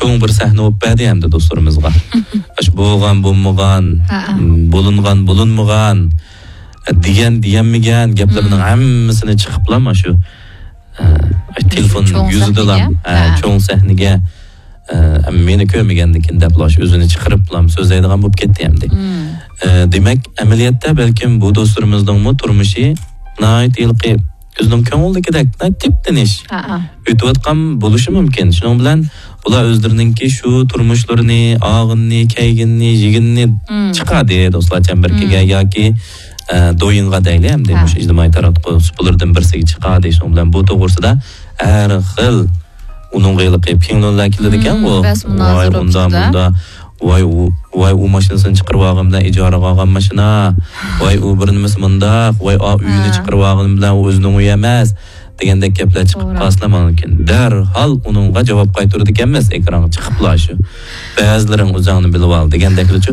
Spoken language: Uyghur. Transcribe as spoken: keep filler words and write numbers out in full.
چوڭ بىر سەھنە بولۇپ بەردى ئەمدى دوستلىرىمىزغا. ئاشۇ بولغان بولمىغان، ھە، ھە. بولۇنغان بولۇنمىغان، دېگەن دېيەلمىگەن گەپلىرىنىڭ، مم، ھەممىسىنى چىقىپلا مانا شۇ، ئە، تېلېفون چوڭ يۈزىدىلا، سەھنىگە؟ ھە، ھە. چوڭ سەھنىگە، ئە، مېنى كۆرمىگەندىكىن دەپلا شۇ ئۆزىنى چىقىرىپلا سۆزلەيدىغان بولۇپ كەتتى ئەمدى. مم. ئە، دېمەك، ئەمەلىيەتتە بەلكىم بۇ دوستلىرىمىزنىڭمۇ تۇرمۇشى ناھايىتى ھېلىقى ئۆزىنىڭ كۆڭلىدىكىدەك، ناھايىتى تىپتىنىش ھە، ھە. ئۆتۈۋاتقان بولۇشى مۇمكىن. شۇنىڭ بىلەن ئۇلار ئۆزلىرىنىڭكى شۇ تۇرمۇشلىرىنى، ئالغىنىنى، كەيگىنىنى، يېگىنىنى، مم، چىقاردى دوستلار چەمبىرىكىگە، مم، ياكى، ئە، دويىنغا دەيلى ئەمدى، ھە، مۇشۇ ئىجتىمائىي تاراتقۇ سۇپىلىرىدىن بىرسىگە چىقاردى. شۇنىڭ بىلەن بۇ توغرىسىدا ھەر خىل ئۇنىڭغا ھېلىقى پىڭلۇنلار كېلىدىكەن، مم، ئۇ، بەس مۇنازىرە ۋاي، ئۇنداق، مۇنداق، ۋاي، ئۇ، ۋاي، ئۇ ماشىنىسىنى چىقىرىپ ئالغان بىلەن ئىجارىگە ئالغان ماشىنا، ۋاي، ئۇ بىر نېمىسى مۇنداق، ۋاي، ئا، ئۆينى، ھە، چىقىرىپ ئالغىنى بىلەن ئۇ ئۆزىنىڭ ئۆيى ئەمەس، دېگەندەك گەپلەر چىقىپ، توغرا، قالسىلا مانا كېيىن دەرھال ئۇنىڭغا جاۋاب قايتۇرىدىكەنمىز، ئېكرانغا چىقىپلا شۇ. بەزىلىرىڭ ئۆزۈڭنى بىلىۋال دېگەندەكلىچۇ.